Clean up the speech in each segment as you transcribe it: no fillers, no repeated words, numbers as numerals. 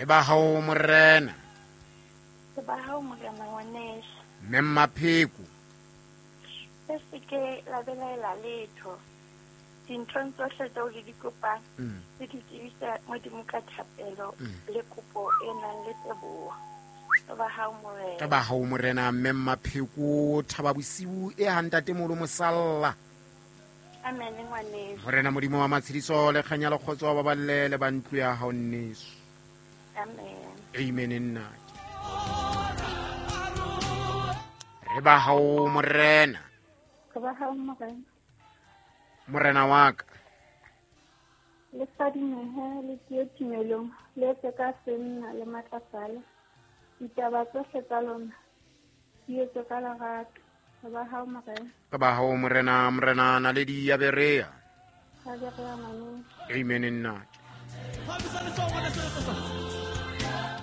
Re ba hao morena. Re ba hao morena ngwaneso. Mme Mmapheko. Le se ke la belaela letho. Dinthong tsohle tseo le di kopang, le di tsebise Modimo ka thapelo le kopo e nang le teboho. Re ba hao morena. Re ba hao morena mme Mmapheko thaba bosiu e ha ntatemolo mosalla. Amen ngwaneso. Morena Modimo wa matshediso le kganya le kgotso wa baballe le ba ntlo ya hao nneso. Amen. Amen nnake. Re ba hao morena. Re ba hao morena. Morena wa ka. Le fadimehe le tie tumelong, le etse ka senna le matlafale. Ditaba tsohle tsa lona di etswe ka lerato. Re ba hao morena. Re ba hao morena, morena naledi ya Berea. Ya Berea ngwaneso. Amen nnake.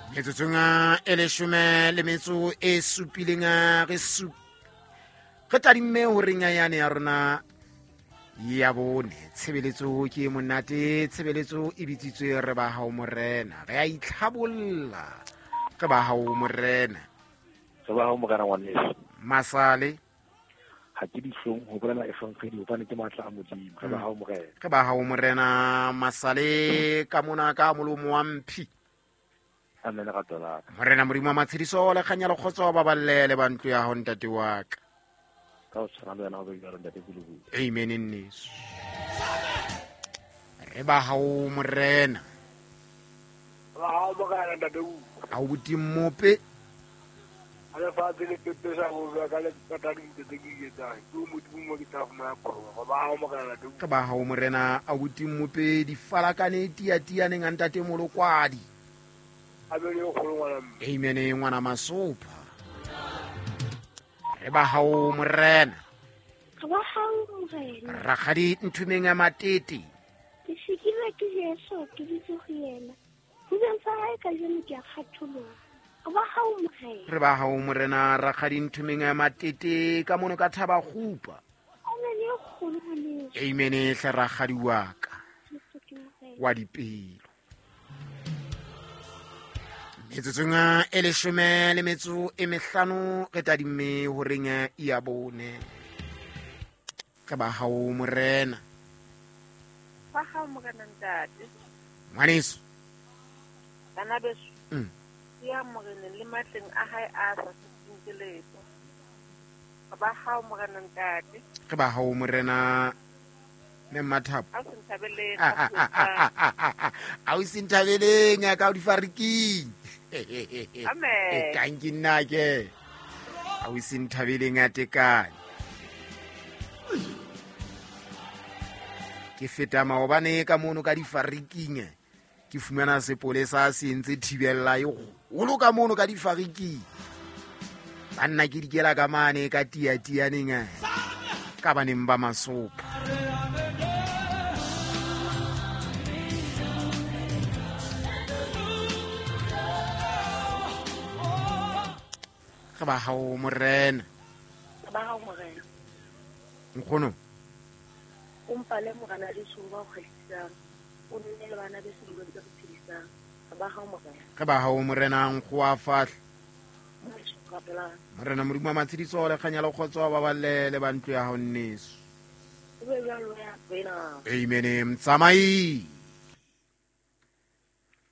Metsotsong e leshome le metso e supileng re sup re tadimme horeng ya yane ya rona ya bone tshebeletso ke monate tshebeletso e bitsitswe re ba hao morena re a itlhabolla re ba hao morena re ba hao morena ngwaneso masale ha ke dihlong ho bolela efangedi hobane ke matla a modimo re ba hao morena re ba hao morena masale ka mona ka molomo wa mphi amen rato la ka morena modimo wa matshediso le kganya le kgotso ba balle le ba ntlo ya hao ntate wa ka ka o tshwana le wena o be jalo ntate Pulubulu amen nneso re ba hao morena ba hao morena ntate u a o botimmope a lefatshe le pepesa go bua ka lekata dintho tse ke di etsang ke o modimo mo ke tla fumana phologo ba hao morena ntate u re ba hao morena a botimmope difalakane tiatianeng a ntate molokwadi a be le kgolo ngwana mme amen ngwana masopha re ba hao morena Re ba hao morena. rakgadi nthomeng ya matete Ke sikilwe ke Jesu ke ditse ho yena. Hubeng sa hae kajeno ke a kgatholoha. Re ba hao morena. re ba hao morena rakgadi nthomeng ya matete ka mono ka thaba kgupa Amen e kgolo ngwaneso. amen hle rakgadi wa ka Jesu ke morena. wa dipelo metsotsong e leshome le metso e mehlano re tadimme horeng ya bone re ba hao morena Ba hao morena ntate. ngwaneso Bana beso. Ya moreneng le matleng a hae a sa setseng ke letho. Ba hao morena ntate. Re ba hao morena mme Mmathapo. A o se nthabeleng. A o se nthabeleng ya ka o difariking. Amen. Tanki nna ke. A o se nthabeleng ya tekane. Ke feta maobane ka mono ka difariking. Ke fumana sepolesa se entse thibella e kgolo ka mono ka difariking. Banna ke dikela ka mane ka tiatianeng ka baneng ba masopha. Re ba hao morena. Re ba hao morena. Nkgono. O mpale morena Jesu ba o kgahlisang. O nne le bana beso dilong tse re phedisang. Re ba hao morena. Re ba hao morena nkgo a fahle. Rapelang. Morena Modimo wa matshediso le kganya le kgotso ba balle le ba ntlo ya hao nneso. O be jwalo ya wena. Amen motsamai.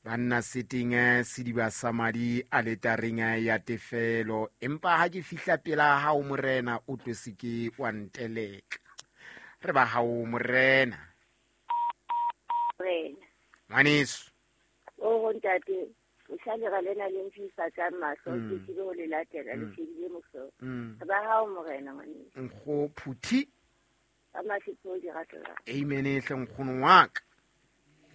Banna seteng sediba sa madi aletareng ya tefelo empa ha ke fihla pela hao morena o tlo se ke wa nteleka. Re ba hao morena. Morena. Ngwaneso. O ntate, o sale ra lena le mfisa ka mahlo ke tsebe ho le latela le shebile mohlolo. Re ba hao morena ngwaneso. Nkgo phuthi. Ka mahlo di ratela. Amen hle nkgono wa ka.